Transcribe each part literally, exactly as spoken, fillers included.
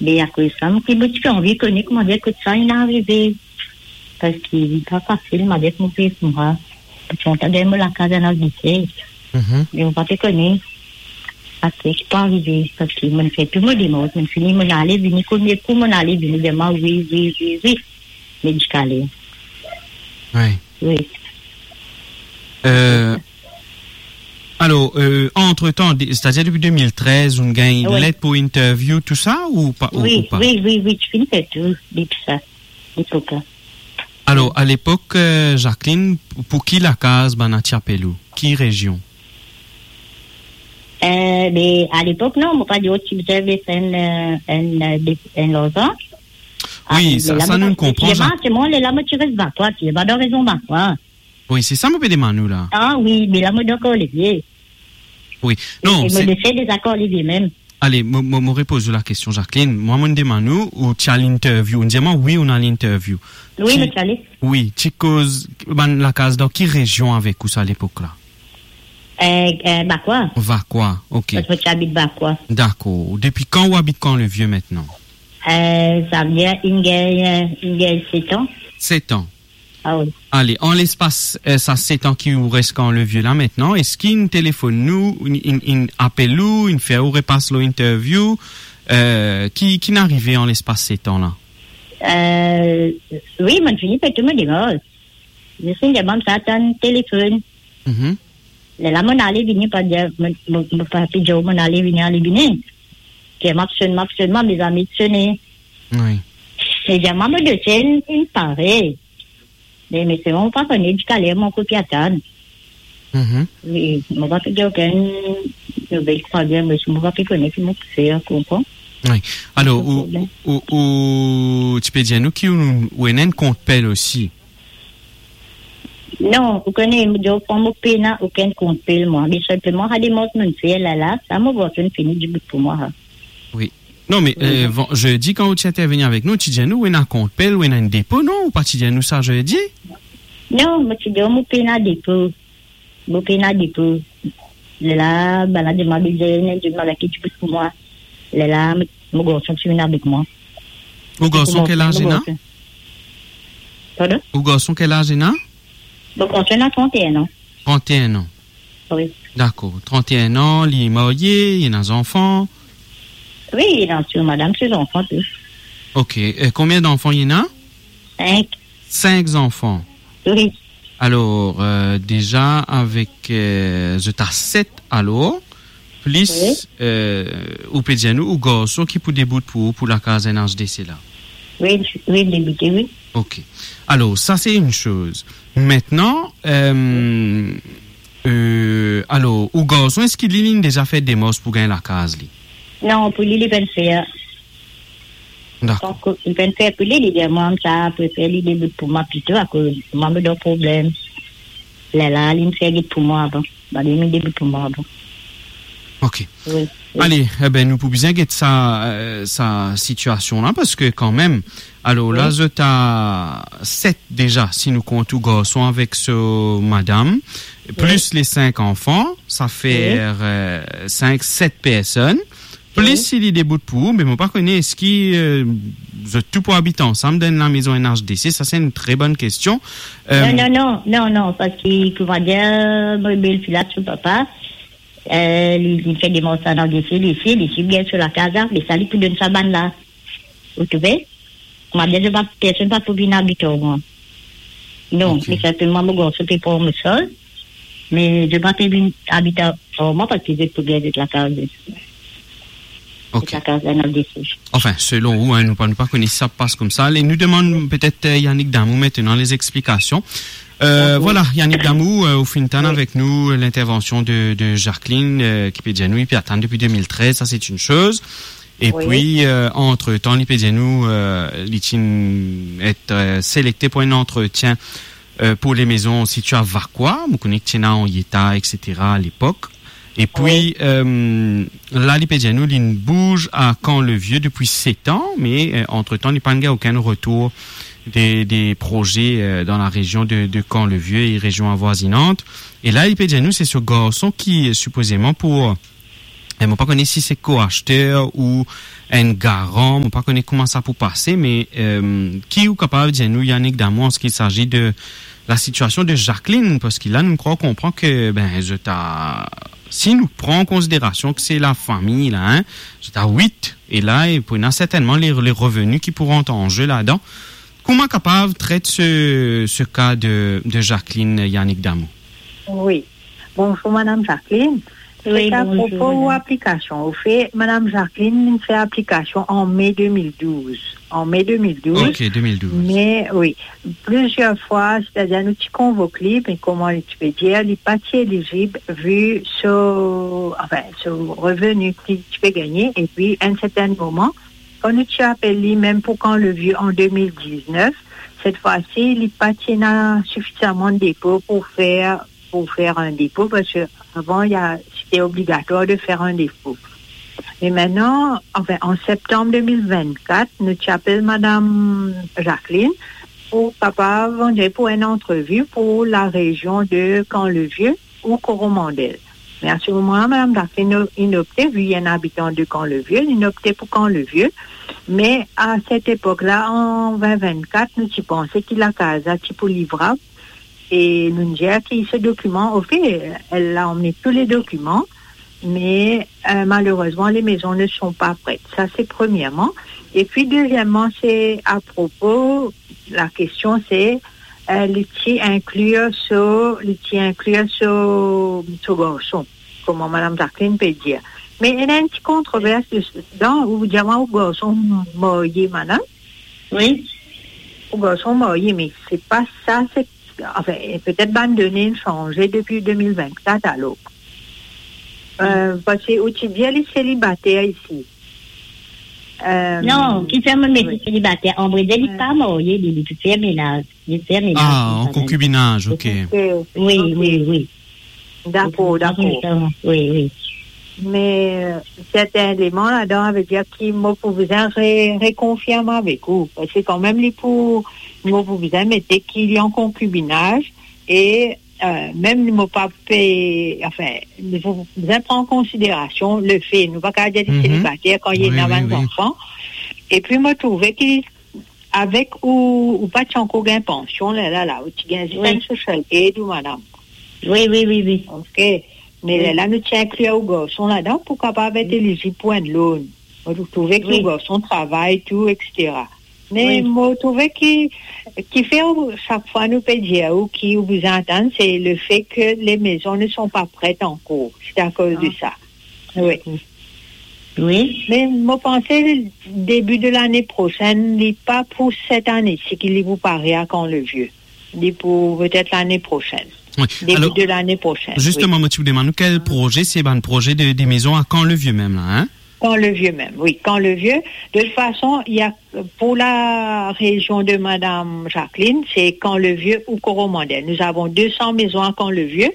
Me akoz sa, mo, mo ti pe anvi kone koumadir kot sa inn arive. Parski li pa fasil, mo dir, mo pe, mo pa, mo ti kontan gagn mo lakaz an Angleter. Mhm. Me mo pa pe kone aster ki pou arive, parski mo'nn fer tou mo demars, mo'nn fini, mo'nn ale vini, konbien kou mo'nn ale vini, demann wi, wi, wi, wi, medikale. Wi. Wi. Euh, alor, euh, antretan, de-, setadir depi de mil trez, ou'nn gagn, wi, let pou interview, tou sa, ou pa, ou, wi, ou pa? Wi, wi, wi, ti finn fer tou, depi sa, lepok la. Alor, a lepok, euh, Jacqueline, pou ki lakaz bann ti apel ou? Ki rezion? Euh, be, a lepok, non, mo pa dir ti bizin enn, euh, enn, euh, de-, enn larzan. Wi, ah, sa, lerla sa mo, nou konpran, lerla, Jacques. Mo, lerla mo ti res Vacoas, ti ena rezon Vacoas. Wi, se sa mo pe demann ou la. Ah wi, me la mo dan Kor Levie. Wi. E, non, e mo se dese deza Kor Levie mem. Ale, mo, mo, mo repoz ou lakestion, Jacqueline. Mwa, mo'nn demann ou, ou ti al interview. Ou'nn dir mwa, wi, ou'nn al interview. Wi, ti, mo ti ale. Wi, ti koz bann lakaz dan ki rezion avek ou sa lepok la? Euh, euh, Vacoas. Vacoas, ok. Parski mo ti abit Vacoas. Dakor. Depi kan ou abit Kor Levie aster? Euh, sa fer, inn gagn, euh, inn gagn set an. Set an. Ah wi. Ale, an lespas, euh, sa set an ki ou res Kor Levie la aster, eski inn telefonn ou, inn, inn, inn apel ou, inn fer ou repas lor interview, euh, ki, ki'nn arive an lespas set an la? Euh, wi, mo'nn fini fer tou mo demars. Zis inn demann sa, atann telefonn. Mhm. Lerla mo'nn ale vini, pa dir, mo, mo, mo pa pe dir mo'nn ale vini, ale vini. Ki mo sonn, mo sonn, mo, mezami ti sone. Wi. E dir mwa, mo dosien inn, inn pare. Me, me selman mo pa kone ziska ler mo ankor pe atann. Mhm. Wi, mo pa pe gagn okenn nouvel, pa gagn, me mo pa pe kone ki mo pou fer, konpran? Wi. Alor, ou, ou, ou, ti pe dir nou ki ou, ou ena enn kont pel osi? Non, ou kone, mo dir ou, mo pena okenn kont pel, mwa. Me selman, sa demars mo'nn fer la, la, sa mo garson fini dibout pou mwa, ha. Wi. Non, me, euh, van-, zedi, kan ou ti interveni avek nou, ou ti dir nou, ou ena kont pel, ou ena enn depo, non? Ou pa ti dir nou sa zedi? Non, mo ti dir ou, mo pena depo. Mo pena depo. Lerla, bann la demann, bizin enn dimoun ki dibout pou mwa. Lerla, mo, mo garson ti vinn avek mwa. Ou garson ki laz ena? Pardon? Ou garson ki laz ena? Mo garson ena trant-e-enn an. Trant-e-enn an. Wi. Dakor. Trant-e-enn an, li marye, li ena zanfan? Wi, li ena tou madam, se zanfan tou. Ok. E konbien zanfan li ena? Sink. Sink zanfan. Wi. Alor, euh, deza avek, euh, zot a set, alor, plis, wi, euh, ou pe dir nou, ou garson ki pou debout pou ou, pou lakaz N H D C la? Wi, wi, deboute, wi. Ok. Alor, sa se enn soz. Aster, euh, euh, alor, ou garson, eski li, li deza fer demars pou gagn lakaz li? Non, pou li, li pa'nn fer. Dakor. Donk, li pa'nn fer pou li, li dir mwa, sa, prefere li debout pou mwa plito, akoz mwa, mo dan problem. Lerla, li fer get pou mwa avan. Ba, li debout pou mwa avan. Ok. Wi, wi. Ale, e ben, nou pou bizin get sa, euh, sa sitiasion la, parski kanmem, alor la, wi, zot a set deza, si nou kont ou garson avek so madam, wi, plis le sink zanfan, sa fer, wi, euh, sink, set personn. Plis, wi, si li debout pou ou, me mo pa kone eski, euh, zot tou pou abit ansam dan enn lamezon N H D C, sa se enn tre bonn kestion. Euh, non, non, non, non, non, parski, koumadir, mo belfi la, so papa, euh, li, li fer demars N H D C, li, li, li, li bien so lakaz la, me sa li pou donn sa bann la. Ou trouve? Mwa, bien, zot pa, personn pa pou vinn abit ar mwa. Non, ok, me sinpleman mo garson pe pran mo saz, me zot pa pe vinn abit ar, ar mwa parski zot pou gagn zot lakaz. Ok. Zot lakaz la, N H D C. Anfin, selon ou, hein, nou pa, nou pa kone si sa pas koumsa. Ale, nou demann petet, euh, Yannick Damou aster lezexplikasion. Euh, dakor. Vwala, Yannick Damou, euh, ou finn tann, wi, avek nou, euh, lintervansion de, de Jacqueline, euh, ki pe dir nou, li pe atann depi de mil trez, sa se enn soz. Epi, wi, euh, antretan, li pe dir nou, euh, li ti et, euh, selekte pou enn antretien, euh, pou lemezon sitye a Vacoas, mo kone ki ti ena Henrietta, et cetera, a lepok. Epi, wi, euh, la, li pe dir nou, li'nn bouz a Camp-le-Vieux depi set an, me, euh, antretan, li pa'nn gagn okenn retour de, de proze, euh, dan larezion de, de Camp-le-Vieux e rezion avwazinant. E la, li pe dir nou, se so garson ki, euh, sipozeman pou, euh, E mo pa kone si se ko-aster ou enn garan, mo pa kone kouma sa pou pase, me, euh, ki ou kapav dir nou, Yannick Damou, an se ki sazi de la sitiasion de Jacqueline, parski la, nou krwar konpran ke, ben, zot a, si nou pran an konsiderasion ke se lafami la, hein, zot a wit, e la, e pou ena sertennman le, le reveni ki pou rant an ze ladan. Kouma kapav tret se, se ka de, de Jacqueline, Yannick Damou? Wi. Bonzour, Madame Jacqueline. Wi, se bonzour, apropo ou madame. Aplikasion. Anfet, Madame Jacqueline, li fer aplikasion an me de mil douz. An me de mil douz. Ok, de mil douz. Me, wi, plizier fwa, setadir nou ti konvok li, me kouma li ti pe dir, li pa ti elizib, vi so, anfin, so reveni ki li ti pe gagne, epi enn sertin moman, kan nou ti apel li mem pou Camp-le-Vieux an de mil diznef, set fwa si, li pa ti ena sifizaman depo pou fer, pou fer enn depo, parski avan, li a, sete obligatwar de fer enn depo. Me mintnan, anfin, an septanm de mil vennkat, nou ti apel Madame Jacqueline pou kapav, on dirait, pou enn antrevi pou larezion de Camp-le-Vieux ou Coromandel. Me a se moman la, Madame Jacqueline, inn opte, vi li enn abitan de Camp-le-Vieux, inn opte pou Camp-le-Vieux. Me a set epok la, an vin vennkat, nou ti panse ki lakaz la ti pou livrab. E nou'nn dir ki se dokiman, anfet, elle a emmené tous les documents, mais, euh, malheureusement, les maisons ne sont pas prêtes. Ça, c'est premièrement. Et puis, deuxièmement, c'est à propos, la question, c'est, euh, li ti inklir so, li ti inklir so, so garson, kouma Madame Jacqueline pe dir. Me ena enn ti kontrovers ladan, ou dir mwa ou garson marye, madame? Wi. Ou garson marye, me se pa sa, se, anfin, petet bann done inn sanze depi de mil vennkat, alor. Euh, parski ou ti dir li selibater isi. Euh, non, kifer mo met li selibater? An vre, li pa marye, li, li fer menaz. Li fer menaz. Ah, an konkibinaz, ok. Ok, wi, ok. Wi, wi. Dakor, dakor. Wi, wi. Me, euh, sertin eleman ladan, savedir ki mo pou bizin re-, rekonfirm avek ou. Parski kanmem, li pou, mo pou bizin mete ki li an konkibinaz e, euh, mem mo pa pe, anfin, li pou bizin pran konsiderasion lefe, nou pa kapav dir li selibater kan li ena bann zanfan. Epi mo trouve ki avek ou, ou pa ti ankor gagn pansion, la, la, la, ou ti gagn zis enn social aid ou madam. Wi, wi, wi, wi. Ok. Me la, la, nou ti inklir ou garson ladan pou kapav et elizib pou enn loan. Mo trouve ki ou garson travay, tou, et cetera. Me mo trouve ki, kifer ou, sak fwa nou pe dir ou ki ou bizin atann, se lefe ke les maisons ne sont pas prêtes encore. C'est à cause de ça. Wi. Wi. Me mo panse debi de lane prosenn, li pa pou set ane, si ki li pou pare a Camp-le-Vieux. Li pou petet lane prosenn. Wi. Debi de lane prosenn, wi. Alor, zisteman, mo ti pou demann ou, kel proze, se bann proze de, de mezon a Camp-le-Vieux mem la, hein? Camp-le-Vieux mem, wi, Camp-le-Vieux. De tout fason, il y a, pour la région de Madame Jacqueline, c'est Camp-le-Vieux ou Coromandel. Nous avons deux cents maisons à Camp-le-Vieux,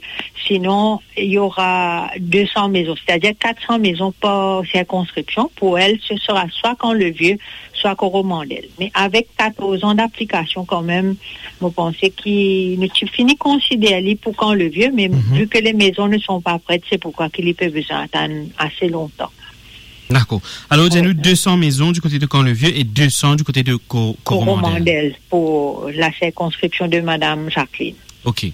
sinon il y aura deux cents maisons, c'est-à-dire quatre cents maisons par circonscription. Pour elle, ce sera soit Camp-le-Vieux, soit Coromandel. Me avek katorz an d'aplikasion kanmem, mo panse ki nou ti fini konsider li pou Camp-le-Vieux, me vi ke les maisons ne sont pas prêtes, se poukwa ki li pe bizin atann ase lontan. Dakor. Alor, dir nou, wi, deux cents maisons du côté de Camp-le-Vieux et deux cents du côté de Co-, Coromandel. Coromandel, pour la circonscription de Madame Jacqueline. Ok. Wi.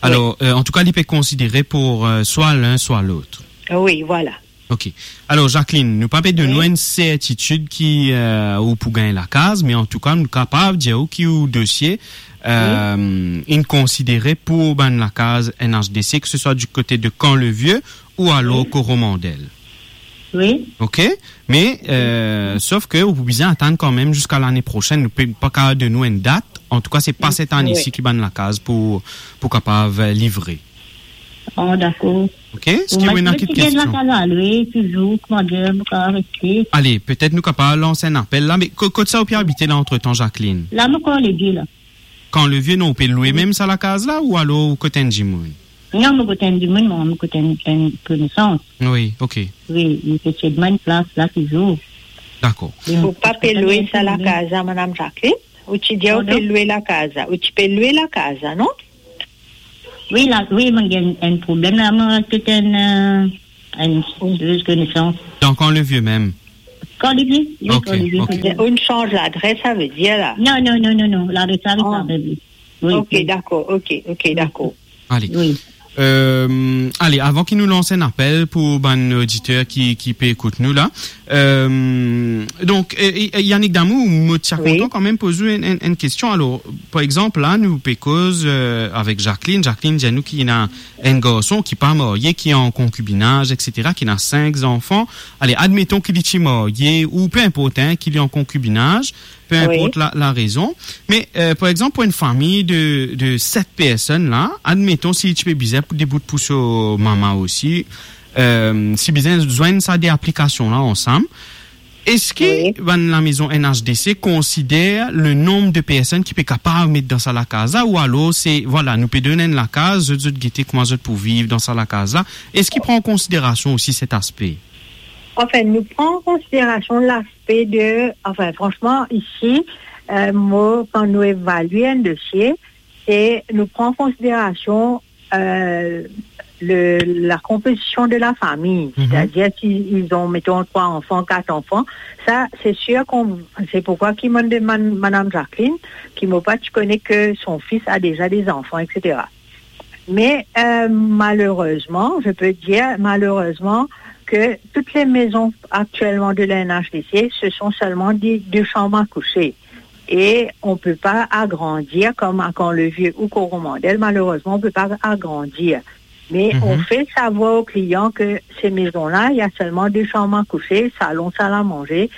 Alor, euh, an tou ka, li pe konsidere pou, euh, swa lin, swa lot. Wi, vwala. Ok. Alor, Jacqueline, nou pa pe donn ou enn sertitid ki, euh, ou pou gagn lakaz, me an tou ka, nou kapav dir ou ki ou dosie, euh, inn konsidere pou bann lakaz N H D C, ke se swa du kote de Camp-le-Vieux ou alor Coromandel. Wi. Ok? Me, euh, sof ke ou pou bizin atann kanmem ziska lane prosenn, nou pe pa kapav donn ou enn dat. An tou ka, se pa set ane isi ki bann lakaz pou, pou kapav, euh, livre. Oh, dakor. Ok? Eski ou ena enn lot kestion? Lakaz a lwe, touzour, kouma dir, mo kapav reste. Ale, petet nou kapav lans enn apel la, me ko-, kot sa ou pe abite la, antretan, Jacqueline? La, mo Camp-le-Vieux la. Camp-le-Vieux, non, ou pe lwe mem sa lakaz la, ou alor ou kot enn dimoun? Non, mo kot enn dimoun, mo, mo kot enn, enn konesans. Wi, ok. Wi, li pe sed mwa enn plas la touzour. Dakor. Ou pa pe lwe sa lakaz la, Madame Jacqueline? Ou ti dir ou pe lwe lakaz la. Ou ti pe lwe lakaz la, non? Wi, la, wi, mo gagn enn problem la, mo kot enn, euh, Une, une de connaissance. Donc, Camp-le-Vieux même. Camp-le-Vieux, oui, ok, Camp-le-Vieux, ok. Peut-être. Ou chanj ladres, sa ve dir la? Non, non, non, non, non. Ladres, sa, ah, sa, oui. Oui, ok, oui. D'accord, ok, ok, oui, d'accord. Allez. Oui. Euh, allez, avan ki nou lans enn apel pou bann oditer ki, ki pe ekout nou la. Euh, donk, euh, euh, Yannick Damou, mo ti a kontan kanmem poz ou enn, enn, enn kestion. Alor, par exanp, la, nou pe koz, euh, avek Jacqueline. Jacqueline dir nou ki ena enn garson ki pa marye, ki an konkibinaz, et cetera, ki ena sink zanfan. Ale, admeton ki li ti marye, ou pe inport, hein, ki li an konkibinaz, pe inport la, la rezon. Me, euh, par exanp, pou enn fami de, de set personn la, admeton si li ti pe bizin pou debout pou so mama osi, euh, si bizin zwenn sa de aplikasion la ansam, eski bann lamezon N H D C konsider le nonb de personn ki pe kapav met dan sa lakaz la, ou alor se, vwala, nou pe donn enn lakaz, zot, zot gete kouma zot pou viv dan sa lakaz la? Eski pran an konsiderasion osi set aspe? Anfin, nou pran an konsiderasion laspe de, anfin, fransman, isi, euh, mo, kan nou evalie enn dosie, se nou pran an konsiderasion euh, le, la composition de la famille. Mhm. C'est-à-dire, s'ils ont, mettons, trois enfants, quatre enfants, ça, c'est sûr qu'on, c'est pourquoi ki mo demann Madame Jacqueline, ki mo pa ti kone ke son fils a déjà des enfants, et cetera. Mais, euh, malheureusement, je peux dire malheureusement que toutes les maisons actuellement de la N H D C, ce sont seulement des, des chambres à coucher. Et on peut pas agrandir comme à Camp-le-Vieux ou Coromandel. Malheureusement, on peut pas agrandir. Mais on fait savoir aux clients que ces maisons-là, il y a seulement deux chambres à coucher, salon, salle à manger.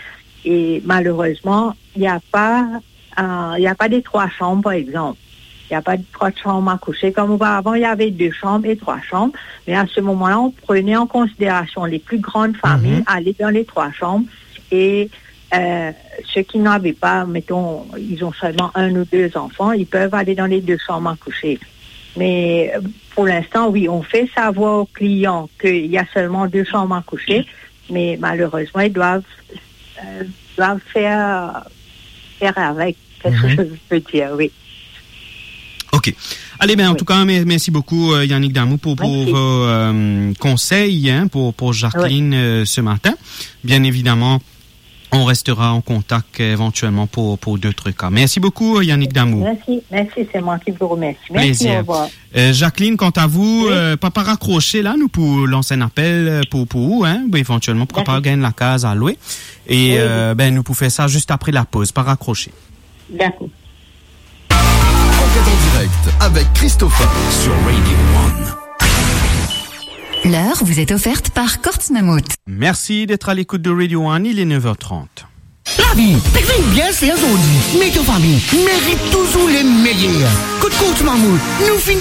Et malheureusement, il y a pas, euh, il y a pas des trois chambres, par exemple. Il y a pas de trois chambres à coucher. Comme auparavant, il y avait deux chambres et trois chambres. Mais à ce moment-là, on prenait en considération les plus grandes familles, aller dans les trois chambres. Et Euh, ceux qui n'avaient pas, mettons, ils ont seulement un ou deux enfants, ils peuvent aller dans les deux chambres à coucher. Mais, euh, pour l'instant, oui, on fait savoir aux clients qu'il y a seulement deux chambres à coucher, mais malheureusement, ils doivent, euh, doivent faire, faire avec. C'est ce que je veux dire, oui. Ok. Allez, ben, en tout cas, mer-, merci beaucoup, euh, Yannick Damou, pour, pour vos, euh, conseils, hein, pour, pour Jacqueline, euh, ce matin. Bien évidemment, on restera en contact, euh, éventuellement pour, pour d'autres cas. Merci beaucoup, Yannick Damou. Merci, merci, c'est moi qui vous remercie. Merci, au revoir. Euh, Jacqueline, quant à vous, euh, pa, pa rakrose la, nou pou lans enn apel, euh, pou, pou ou, hein, éventuellement, pourquoi pas gagner la case à louer. Et, euh, ben, nou pou fer sa zis apre la poz, pa rakrose. D'accord. Enquête en direct avec Christopher sur Radio One. L'heure vous est offerte par Courts Mammouth. Merci d'être à l'écoute de Radio One, il est neuf heures trente. Lavi, pe vinn bien ser zordi, me to fami merit touzour le meyer. Kot Courts Mammouth, nou finn